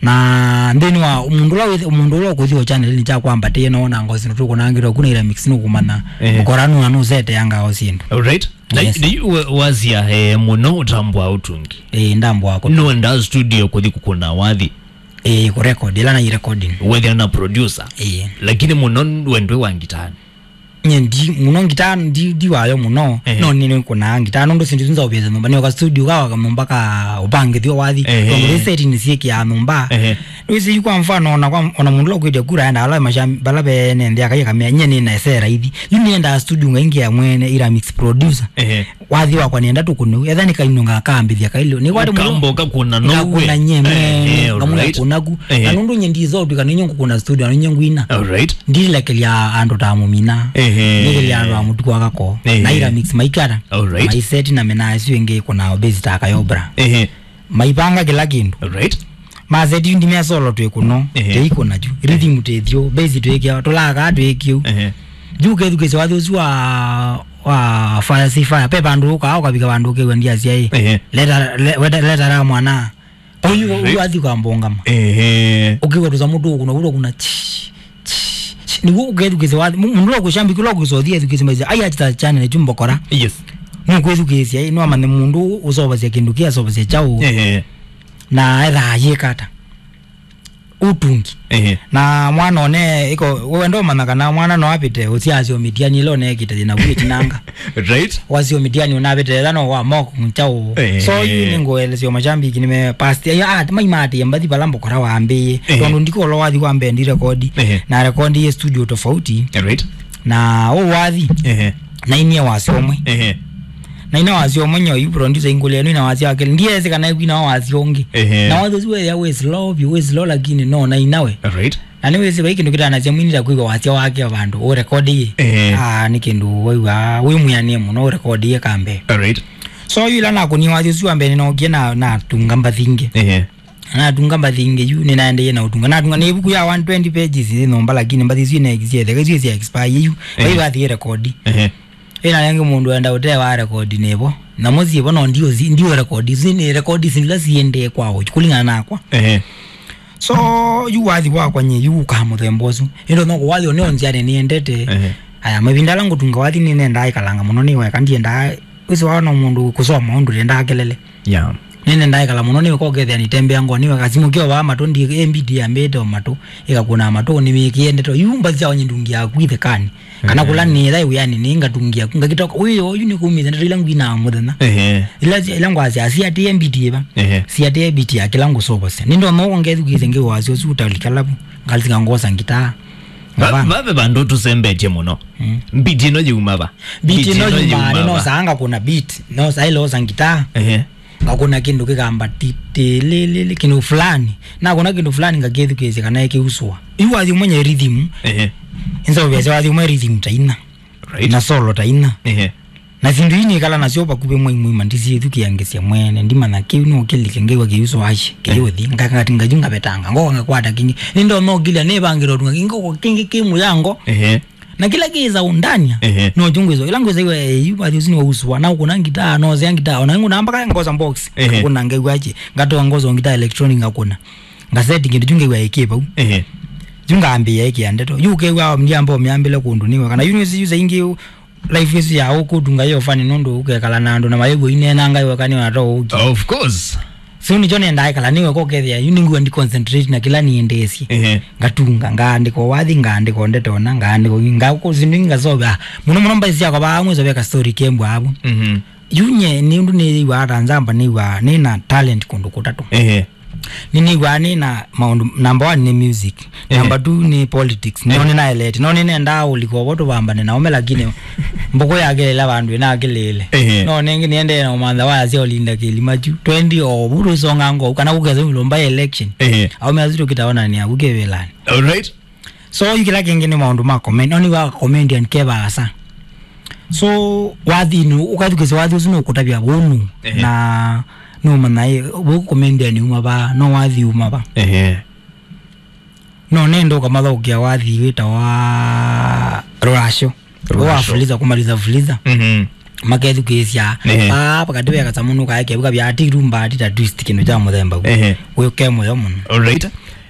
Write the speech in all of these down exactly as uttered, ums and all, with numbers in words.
Na nthĩnĩ wa mũndũ ũla wĩth-, mũndũ ũla ũkũthi o channel-inĩ kya kwambatĩe no na ngosi nũtũkũnangĩtwa kuna ira mix nũkũmanya. Eh. Mũkora nũna nũseteanga o syĩndũ. All right. Na Yes. Nĩ yu wa-, wasia, eh, mũno ũtambwa ũtungi. Eh, ndambwa kũ- Nũenda studio kũthi kũkũna wathi. Eh, kũ record, ila na recording. Wethĩa na producer. Eh. Lakini mũno wendwe wa ngitani. Nye ndi, mũno ngitaa ndi, ndi wayo mũno, Ehe. No nĩ, nĩkũnaa ngitaa, nũndũ syĩndũ isu nzaũvĩte nyũmba, nĩoka studio, kawaka nyũmba ka ũpangĩthyo wathi, Ehe. Tondũ rĩ setting syĩkĩaa nyũmba. Ehe. Wĩsĩ yu kwa mfano, ona kwa, ona mũndũ ũla ũkwĩtya kura aenda ala masha-, bala bene nthĩ akaia kamea, nye nĩ na esera ithi. Yu nĩendaa studio ngaingĩa mwene, ira mix producer. Ehe. Wathi wakwa nĩenda tũkũne u. Etha nĩ kainũnga kambĩthya kailũ. Nĩ kwate mũndũ Ũkamboka kũna no ngakũna we. Nye mwene, Eh, eh, ngamwĩa alright. Kũna ku. Eh. Na nũndũ nye ndizotwika nĩ nyongo kũna studio, nĩ nyongo ina. Alright. Ndilekelya andũ ta mũmina. Ehe. Ndilekelya andũ a mũtuku wa kako. Ehe. Na ira mix maikara. Alright. Maiseti na mena acio ĩngĩ kũna obezi ta kayobra. Ehe. Maipanga kĩla kĩndũ. Alright. Maseti ndi me solo twĩ kũno. Ehe. Tei kũna ju. Rhythm tethio, bass twĩkĩa, tũlaka twĩkĩu. Ehe. Ju kethukĩsya wathi ũsu wa, wa fire si fire. Pe vandũ ũkaa, ũkavika vandũ ũkew'a ndiasya ĩ. Ehe. Leta, le-, weta, leta ra mwana. Oyu, Ehe. Oyu athi kwa mbongama. Ehe. Ũkĩw'a tũsamũ tũkũna, ũkũna, chi, chi, chi. Nĩguo ũkethukĩsya wathi. Mu-, mũndũ ũla ũkũshambiki ũla ũkũsothia ethukĩsya maisha. Ai, achita channel chumbo kora. Yes. Nũkwĩthukĩsya, ĩ, nũamanye mũndũ ũsovasya kĩndũ kĩ asovasya kyaũ. Ehe. Na ethaa yĩka ata. Ũtungi. Ehe. Na mwana one, iko, wenda ũmanya kana mwana no apite, ũsiasyo mĩtiani ĩla ũnekĩte thĩna vu ĩtinanga. Right. Wasyo mĩtiani ũnapite, etha no wa moko mchaũ. Ehe. So, yu nĩ ngũelesyo mashambiki nĩme past. Ya, ah, maimatie mbathi bala mbokora wambĩie. Ehe. Tondũ ndikolo wathi wa mbee ndi rekodi. Ehe. Na rekodi ye studio tofauti. Right. Na ũwathi. Ehe. Na inie wasyo ũmwe. Ehe. Na ina wasyo ũmwe nyo yu producer ingũlĩa nũ ina wasyo wake. Ndiesi kana ĩkwina wasyo ũngĩ. Ehe. Na wasyo ũsu wethĩa wĩ slow vyũ, wĩ slow lakini no na inawe. Right. Na nĩwĩsĩ vai kĩndũ kĩtanasya mwini ta kwĩw'a wasya wake vandũ ũrekodiie. Ehe. Ah, nĩ kĩndũ waiw'a wĩ mwĩanĩe mũno ũrekodiie kambe. Right. So yu ila nakũnie wasyo ũsu wa mbee nĩnookie na, natunga mbathi ingĩ. Ehe. Natunga mbathi ingĩ yu, nĩnaendeie na ũtunga. Natunga nĩ ĩvuku ya one twenty pages yĩ nyũmba, lakini mbathi isu inekisye etheka isu isya expire yu. Ehe. Vai vathi rekodi. Ehe. Ĩna rĩngĩ mũndũ enda ũtee wa rekodi nĩvo. Na mũsyĩ vo no ndiũ, ndiũ rekodi. Isu nĩ rekodi isu ila siendee kwao, kũlingana nakwa. Ehe. So, yu wathi wakwa nye, yu ũkaa mũthemba ũsu. Ĩndo no kũwathi nĩ onziane nĩendete. Ehe. Aya, mavinda ala ngũtunga wathi nĩnendaa ĩkalanga mũno nĩ weka, ndiendaa, wĩsĩ wao no mũndũ kũsoma ũndũ ndendaa kelele. Yeah. Nene ndaekala mũno nĩwe kokethĩa nitembea ngoo nĩwe kasimũ kĩo vaa matũ ndi M B D ambĩte o matũ ĩkakũna matũ nĩmĩkĩe ndeto yu mbathi sya onye ndungi yaku ithekani kana kũla nĩtha wĩani nĩ ngatungia ngakitoka wĩ oyu nĩkumĩte ndeto ila ngwinaa mũthenya. Ehe. Ila ila ngwasya siatĩe mbiti ĩva. Ehe. Siatĩe mbiti ya kĩla ngũsovosya nĩndona ũko ngethukĩĩsya ngĩwasya ũsu ũtalikalavu ngalika ngosa ngitaa. Ngavana. Vave vandũ tũsembetie mũno. Mm. Mbiti ĩno yuma va? Mbiti ĩno yuma nĩ nosaa ngakũna beat, nosaa ĩlosa ngitaa. Ehe. Ngakũna kĩndũ kĩkamba titilili kĩndũ fulani. Nakũna kĩndũ fulani ngakĩthukĩĩsya kana ĩkĩusũa. Yu wathi ũmwe nye rhythm. Ehe. Ĩnzaũvĩasya wathi ũmwe rhythm ta ina. Right. Na solo ta ina. Ehe. Na syĩndũ ii nĩkala nasyo vakuvĩ mwai mũima ndisyĩthukĩangĩsya mwene ndimanya kĩu no kĩlike ngĩw'a kĩusũa ashi kĩyũthi ngakati ngathi ngavetanga ngoka ngakwata kĩngĩ nĩndonya ũkilya nĩvangĩte ũtunga kĩngĩ kĩngĩ kĩ mũyango. Ehe. Na kĩla kĩĩsa ũndania. Ehe. No kyo ngwĩswa ĩla ngwĩsaiwa yu vathi ũsu nĩwausũa na ũkũna ngitaa nosea ngitaa ona ngũna mpaka ngosa box. Ehe. Ngakũna ngew'a achi ngatoa ngosa ngitaa electronic ngakũna ngaseti kĩndũ kyu ngew'a ĩkĩ vau. Ehe. Yu ngambĩĩa ĩkĩa ndeto yu ũkew'a ndiamba ũmyambĩle kũndũ nĩwe kana yu nĩwĩsĩ yu saingĩ life ĩsu ya ũkũtunga yo fani nũndũ ũkekala na andũ na mayĩw'o ineenanga yo kana ona to ũki. Of course. So nĩkyo nendaa ĩkala nĩwe kokethĩa yu nĩngw'a ndi concentrate na kĩla niendeesye. Ehe. Ngatunga ngaandĩka wathi ngaandĩka ndeto na ngaandĩka ngakũsindũ ngasovea mũno mũno mbathi syakwa vaa mwĩso veka story kembwa avu. Mhm. Yu nye nĩ ũndũ nĩyĩw'aa ta nzamba nĩw'aa nĩ na talent kũndũ kũtatũ. Ehe. Nĩnĩw'aa nĩ na maũndũ number one nĩ music. Ehe. Number two nĩ politics no nĩnaelete no nĩnendaa ũlika ũvo tũvambane na ũme lakini mbũkũ yakĩlĩla vandũ ĩnakĩlĩĩle. Ehe. No nĩngĩ nĩendee na ũmantha waya sya ũlinda kĩlima kyu twenty o vu tũisonga ngou kana kũkesa ĩlũmba ya election. Ehe. Aume asu tũkĩtaonanĩa vu kĩvĩlanĩ. Alright. So yu kĩla kĩngĩ nĩ maũndũ ma comment no nĩwa comedian ke vaasa. So wathi nĩ ũkathukĩsya wathi ũsu nũkũtavya vũnũ. Ehe. Na nũmanya ĩ vau comedian uma vaa no wathi uma va. Ehe. No nenda ũkamathaũkĩa wathi wĩta wa rũrasyo. Rũrasyo. Wa fuliza kũmaliza fuliza. Mhm. makethukĩĩsya. Ehe. Paa pakati ve kasamũ nũkaekea vika vya ati rumba ati ta twist kĩndũ kya mũthemba vu. Ehe. Wĩ ke mũyo mũno. Alright.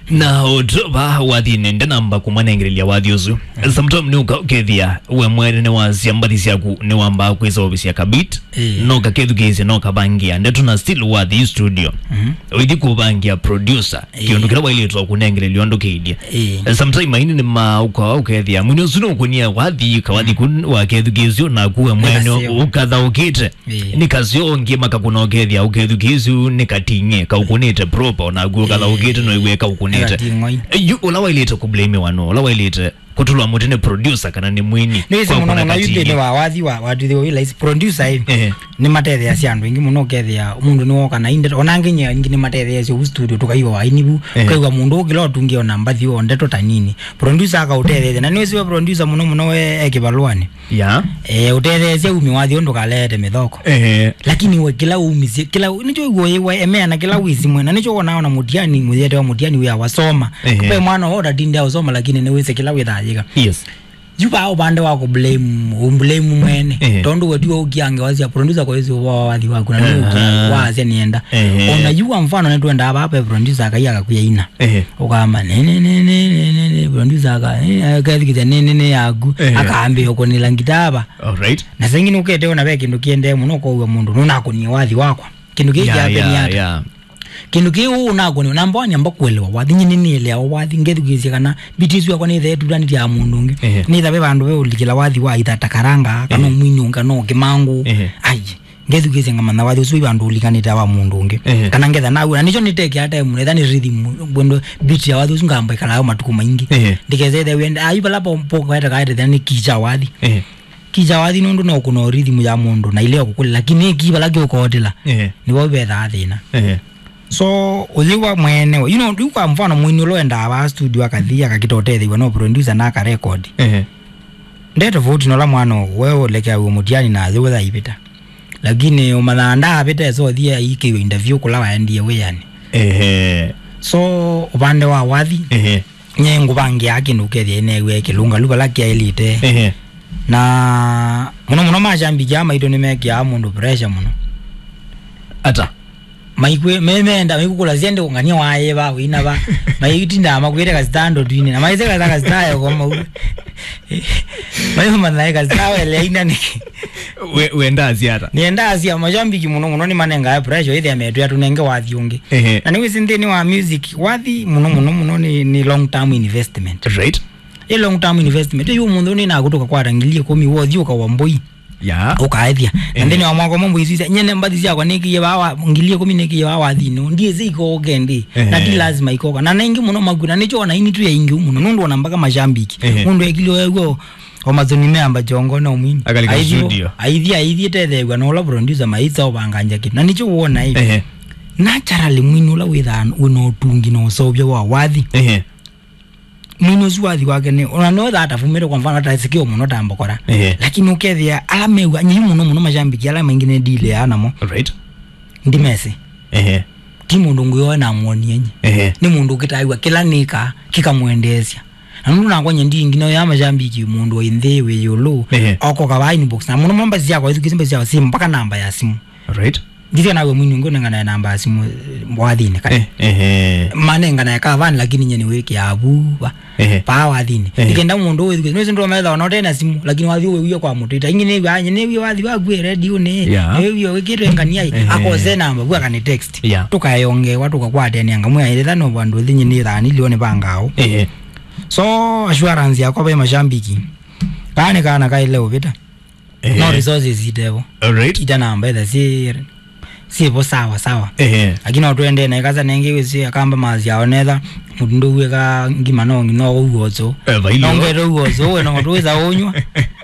Na ũtũ va wathinĩ ndenamba kũmanengelelya wathi ũsu. Sometime nĩ ũka ũkethĩa we mwene nĩ wasya mbathi syaku nĩ wambaa kwĩsa ovisya kabit. Ĩĩ. No kakethukĩĩsya no kavangia ndeto na still wathi studio. Mhm. Ũithi kũvangia producer. Ĩĩ. Kĩũndũ kĩla wailĩtwe kũnengelelya ũndũ kĩilye. Ĩĩ. Sometime aini nĩ maũka ũkethĩa mwini ũsu nũkũnia wathi kawathi kũ wakethukĩĩsya naku we mwene Nĩkaseo. Ũkathaũkĩte. Ĩĩ. Nĩ kaseo ũngĩ makakũna ũkethĩa ũkethukĩĩsya nĩ kating'e kaũkũnĩte proper onaku ũkathaũkĩte no iw'e kaũkũnĩte. Kating'oi. Yu ũla wailĩte kũblamiwa no ũla wailĩte kũtũlwa mũtĩ nĩ producer kana nĩ mwini. Nĩwĩsĩ kwa mũno kũna mũno yu kating'e. Nthĩnĩ wa wathi wa watwĩthĩwa wĩ laisi producer ĩ. Ehe. Nĩmatetheasya andũ aingĩ mũno ũkethĩa mũndũ nĩwoka na inde ona nginya ingĩ nĩmatetheasya vu studio tũkaiwa waini vu. Ehe. Ũkaigua mũndũ ũkĩla ũtungĩo na mbathi o ndeto ta nini producer akaũtetheesya na nĩwĩsĩ we producer mũno mũno we e kĩvalũanĩ. Ya. Eh, ũtetheesya umi wathi ũndũ kalete mĩthoko. Ehe. Lakini we kĩla umisye kĩla nĩkyo iguo yĩwa emea na kĩla wĩsimwe na nĩkyo wonaa ona mũtiani mũyete wa mũtiani wĩa wasoma. Ehe. Ve mwana ũtatinde ausoma lakini nĩwĩsĩ kĩla wĩthayĩka. Yes. Yu vaa ũvande wa kũblame ũblame mwene. Ehe. Tondũ we tiwe ũkiange wasya producer kwa ĩsu wa wathi waku na nĩ ũkia wasya nĩenda. Ehe. Ona yu kwa mfano nĩtwendaa vaa ve producer akai akakuya ina. Ehe. Ũkamba nene nene nene nene producer aka eh, akethikĩte nene nene yaku. Ehe. Akaambia ũkũnĩla ngitava. Alright. Na saingi nũkete ona ve kĩndũ kĩendee mũno kwa ũwe mũndũ nũnakũnie wathi wakwa. Kĩndũ kĩĩ kĩapenia ata? Yeah. Kĩndũ kĩĩ ũũ nakũnĩwa namba one amba kũelewa wathi nyie nĩnĩeleawa wathi ngethukĩĩsya kana biti ĩsu yakwa nĩthe ĩtutanĩtye ya mũndũ ũngĩ. Ehe. Nĩtha ve vandũ ve ũlikĩla wathi wa itha ta karanga kana ũmwini ũngĩ kana ũkĩmangũ. Ehe. Ai ngethukĩĩsya ngamanya wathi ũsu wĩ vandũ ũlikanĩte wa mũndũ ũngĩ. Ehe. Kana ngetha naw'a na nĩkyo nĩtekea time nĩtha nĩ rhythm bwendo biti ya wathi ũsu ngamba ĩkalayo matukũ maingĩ. Ehe. Ndikese ĩthe wĩenda ayu vala po po kaete kaete nĩ kicha wathi. Ehe. Kicha wathi nũndũ no kũna rhythm ya mũndũ na ileo kũkũlĩ lakini ki vala kĩũkootela. Ehe. Nĩvo vethaa thĩna. Ehe. So ũyĩwa mwene you know rĩu kwa mfano mwini ũla wendaa vaa studio akathi akakita ũtetheew'a no producer na akarekodi. Ehe. Nde tofauti nola mwana we ũlekeaw'e mũtiani na yũtha ivĩta lakini ũmanyaa ndaavĩta esa ũthi aikĩw'e interview kũla waendie wĩanĩ. Ehe. So ũvande wa wathi. Ehe. Nye ngũvangĩaa kĩndũ ũkethĩa ĩneew'e kĩlũngalu vala kyaĩlĩte. Ehe. Na mũno mũno mashambiki aa maitũ nĩmekĩaa mũndũ pressure mũno. Ata? Maikwĩ me- meenda maikũkũla syende ũngania waĩva wĩna va maitindaa makwĩte kasitando twine na maiseka ta kasitayo kwa mau. Mayo manae kasitayo eleaina nĩkĩ? We- wendaa siata. Nĩendaa sia mashambiki mũno mũno nĩmanengae pressure ĩthĩa metwĩa tũnenge wathi ũngĩ. Ehe. Na nĩwĩsĩ nthĩnĩ wa music wathi mũno mũno mũno nĩ, nĩ long term investment. Right. Ĩ long term investment yu mũndũ nĩ nakũtũka kwata ngili ĩkũmi wothi ũkawa mboi. Ya. Ũkaethya na nthĩnĩ wa mwaka ũmwe mboi isu isya nyene mbathi syakwa nĩkĩie vaa wa ngili ĩkũmi nĩkĩie vaa wathinĩ ndiĩsĩ ikoke ndĩ na ti lazima ikoka na naingĩ mũno maku na nĩkyo ona ini tu ya ingĩ mũno nũndũ ona mpaka mashambiki. Ehe. Mũndũ ekilio ew'o o mathoni meamba kyongo no mwini. Akalika studio. Aithi aithi tetheew'a na ũla producer maitsa ũvanganja kĩndũ na nĩkyo wona ĩ. Ehe. Naturally mwini ũla wĩthaa wĩna ũtungi na ũseũvya wa wathi. Ehe. Mwini ũsu wathi wake nĩ ona no that afumĩte kwa mfano atasikio mũno ta mbokora. Ehe. Lakini ũkethĩa ala mewa nyiu mũno mũno mashambiki ala maingĩ nĩ deal ya namo. Right. Ndimesi. Ehe. Ti mũndũ ngũyoe na muonie nyi. Ehe. Nĩ mũndũ ũkĩtaĩwa kĩla nĩka kĩkamwendeesya. Na nũndũ nakwa nye ndi ngino ya mashambiki mũndũ wĩ nthĩ wĩ yũlũ. Ehe. Oko kava inbox na mũno mũno mbazi yakwa ithukĩsi mbazi yakwa si mpaka namba ya simu. Right. Ndithia nawe mwini ũngĩ ũnenganae namba ya simu eh, wathinĩ kati. Eh, ehe. Manenganae kavani lakini nye nĩwĩkĩaa vuva. Ehe. Paa wathinĩ. Ehe. Ikenda mũndũ ũwĩthukĩsi nĩwĩsĩ ndũmetha ona ũte na simu lakini wathi ũwĩwie kwa mũtũ ita ingĩ nĩw'a nye nĩwie wathi waku e redionĩ. Yeah. Nĩwĩwie wĩkĩtwe ngania. Ehe. Akose namba vu akani text. Yeah. Tũkaeongewa tũkakwatanĩa ngamwĩa ĩtha no vandũ thinyĩ nĩ thani lio nĩ vangaũ. Ehe. So assurance yakwa ve mashambiki kaa nĩ kana kaile ũvĩta. Ehe. No resources itevo. Alright. Ita namba etha si sivo sawa sawa. Ehe. Lakini no twende na ikasa nengi wisi akamba mazi aonetha mutu nduwe ka ngima no no uozo. Eh, vailo. No ngero uozo we no tuweza unywa.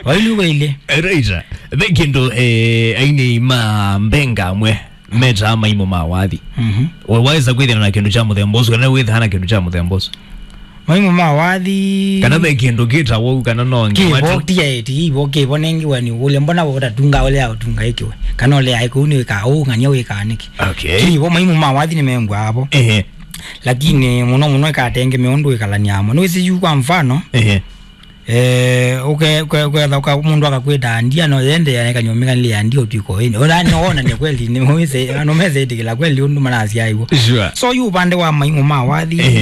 Vailu vaile. Right. Ve kĩndũ eh, aini ma mbenga amwe metaa maimo ma wathi. Mhm. We waweza kwĩthĩana na kĩndũ kya mũthemba ũsu kana wĩthaa na kĩndũ kya mũthemba ũsu? Maimo ma wathi kana ve kĩndũ kĩtawa ũu kana no nginya kivo tu- tiaeti ivo kivo nengiwa nĩ ũlya mbona wota tunga ũlea ũtunga ikiwe kana ũlea iku nĩ wĩkaa ũu ng'ania wĩkaa nĩkĩ? Okay. Kivo maimo ma wathi nĩmengwa avo. Ehe. Lakini mũno mũno ĩkatenge mĩũndũ ĩkalania amo nĩwĩsĩ yu kwa mfano. Ehe. Eh, uke uke uke uke mũndũ akakwĩta andia no yende ya kanyũmĩka nĩ andia ũtwiko ĩni. Ũla no ona nĩ kweli nĩ mwĩse no mese ĩtĩkĩla kweli ũndũ manasya iwo. Sure. So yu upande wa maingũ ma wathi.